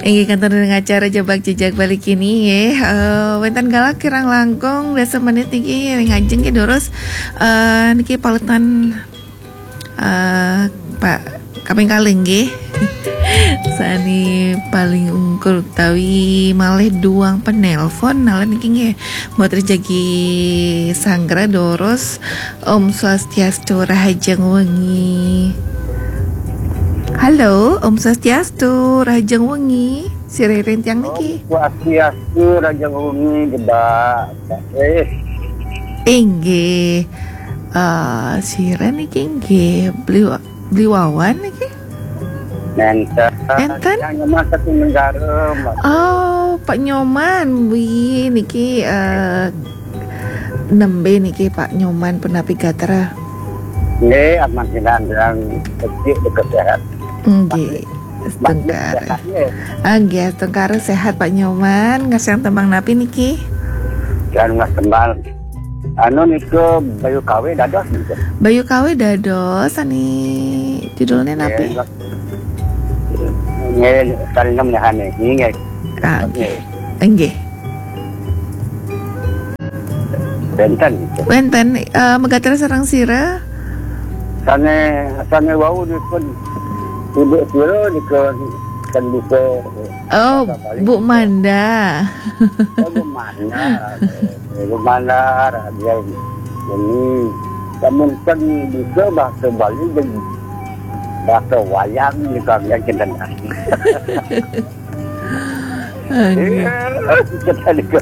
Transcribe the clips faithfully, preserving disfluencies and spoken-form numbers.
Inggih, kantun ring acara Jebak Jejak Bali kini, nggih. Eh, wénten galah kirang langkung dasa menit niki ring ajeng nggih, durus. Eh, niki paletan, eh, Pak kaping kalih nggih. Sané paling ungkur utawi malih duang penelpon, nalika niki nggih. Mbok Tris jagi sanggra, durus. Om Swastiastu, rahajeng wengi. Halo, Om Swastiastu, rahajeng wengi. Sira ring tiang niki. Om Swastiastu, rahajeng wengi, Jebak. Eh, inggih. Eh, sira niki nggih, Bli, Bli Wawan niki? Nénten. Nénten? Yang Nyoman satu negara, Mbak. Oh, Pak Nyoman. Wih, niki, eh, nembé niki Pak Nyoman, punapi gatra? Nggih, aman sinan, yang kecil dekat sehat. Nggih, Masih setengkara. Sehat, nggih. Ah, nggih, setengkara sehat Pak Nyoman. Ngasih tembang napi niki? Dan Mas Tembang. Anu nika Bayu Kawe dados nika. Bayu Kawe dados, sané judulnya napi? Nggih, nggih, sané nemenahan nggih. Ah, nggih. Nggih. Nggih. Wénten. Wénten, eh, magatra sareng sira? Sané, sané wau dipun Ibu sira nika kan bisa. Oh, Bu Manda. Oh, Bu Manda. Bu Manda, dia ini. Namun kan bisa bahasa Bali dan bahasa wayang di kami kita. Aduh. Iya, kita juga.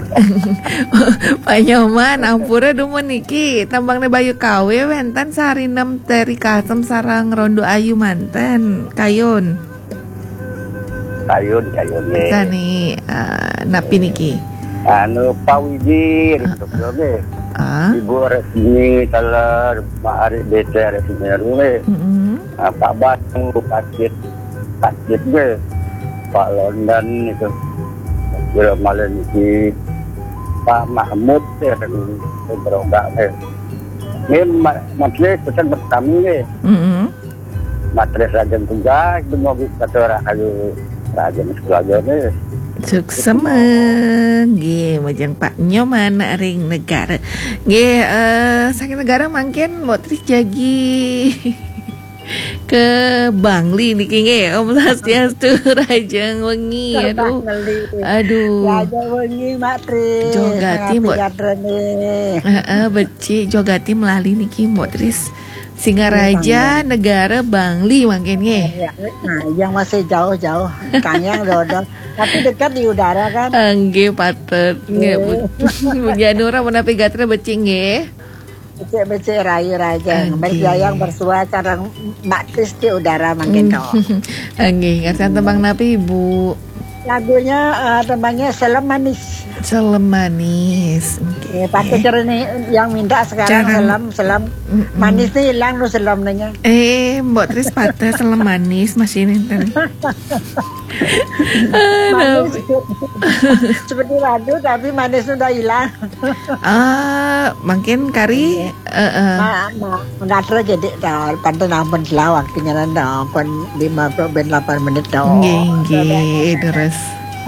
Pak Nyoman, ampura dumun niki. Tembangné Bayu Kawe wénten Sari Nem Teri Kasem sareng Rondo Ayu manten. Kayun. Kayun, kayun, nggih. Sané, eh, napi niki? Anu, Pak Widi, ah, rintuk nggih. Ah. Ibu Resmi, Teler, Mak Ari B T Resmi nggih. Mm-mm. Ah, Pak Batu, Pak Cit, Pak Cit nggih. Pak London itu. Kira malih niki Pak Mahmud ya, ring Beronggak nggih. Nggih, Ma-, Mas Lis, pesan pertama nggih. Mm-mm. Matres Raden Tunggal, dumugi Bathara Ayu Raden Sekeluarga nggih. Suksema. Nggih, majeng Pak Nyoman ring Negara. Nggih, eh, saking Negara mangkin Mbok Tris jagi ke Bangli niki nggih. Om Swastiastu, rahajeng wengi. Aduh. Bangli. Aduh. Rahajeng wengi, Mak Tris. Jogati, Mbok. Napi gatrane? Heeh, becik, jogati melali niki, Mbok Tris. Singaraja, iya, Bangli. Negara Bangli mangkin nggih. Iya, nah, yang masih jauh-jauh, kang yang dodo. Tapi dekat di udara kan? Ah, nggih, patut. Nggih, Bu, Bu Janura menapi gatra becik nggih. Becik-becik rayu raja. Nggih. Berjayang bersuah sareng Mbak Tris di udara mangkin to. Nggih, ngasih tembang napi, Bu? Lagunya, eh, tembangnya Selem Manis. Selem Manis. Oke. Eh, patut cara nih yang minta sekarang. Sekarang. Selem, selem. Mm-mm. Manis nih hilang tuh selemnya. Eh, Mbok Tris patah Selem Manis masih nenten. Manis. Seperti lagu tapi manis sudah hilang. Ah, mungkin kari, iya. Heeh. Ma, ma, mengatur jadi to, pantun ampun selawak tinggalan to, ampun lima puluh ben delapan menit to. Nggih, nggih, terus.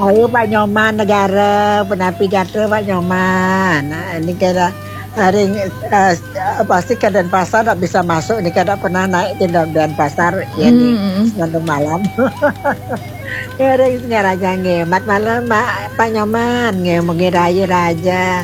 Ayo Pak Nyoman Negara, penapi gatra Pak Nyoman. Nah, ini kira hari, eh, pasti ke Denpasar tak bisa masuk, ini kada pernah naik ke Denpasar, ya nih, hmm, nanti malam. Ngiring Singaraja nggih. Mat malam, Mbak, Pak Nyoman nggih, mugi rayu raja.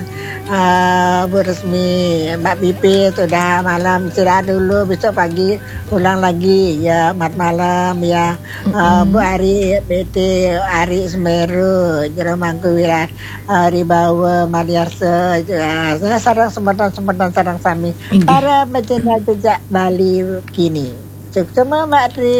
Eh, Bu Resmi, Mbak Pipit, sudah malam istirahat dulu, besok pagi ulang lagi ya, mat malam ya. Eh, mm-mm. Bu Ari, B T Ari Semeru, Jero Mangkuwira, Ari Bawa, Mariarsa, ya, sareng semeton-semeton sareng sami. Inggih. Para pecinta jejak Bali kini. Suksema, Mbak Tri.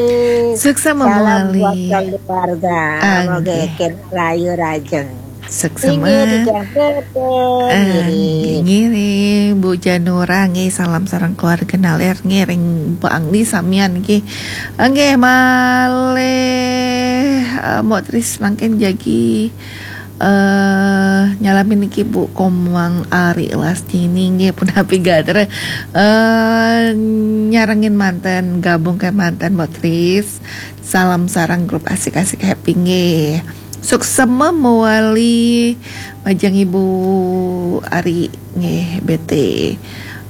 Suksema, salam buat keluarga. Anggih. Moga eken rayu rajeng. Suksema. Inggih, dijang tepung, ah, ngiring. Ngiring, Bu Janura, nggih, salam sareng keluarga naler, ngiring Bangli samian, nggih. Nggih, malih, eh, Mbok Tris mangkin jagi eh, nyalamin niki Bu Komang Ari Lastini nggih punapi gatra, eh, nyarengin manten, gabung ke manten Mbok Tris. Salam sareng grup asik-asik happy nggih. Suksma mawali majeng Ibu Ari nggih, B T.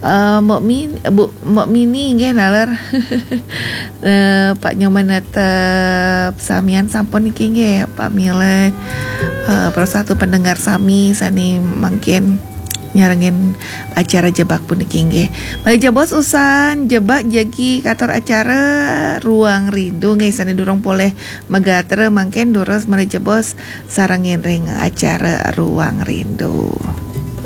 Eh, Mbok Min, Bu, Mbok Mini nggih naler. Eh, Pak Nyoman Netep samian sampun niki nggih, Pak Milet. Eh, para satu pendengar sami sane mangkin nyarengin acara Jebak puniki nggih. Malih jebos usan Jebak jagi katur acara Ruang Rindu nggih, sane durung polih magatra mangkin durus malih jebos sarengin ring acara Ruang Rindu.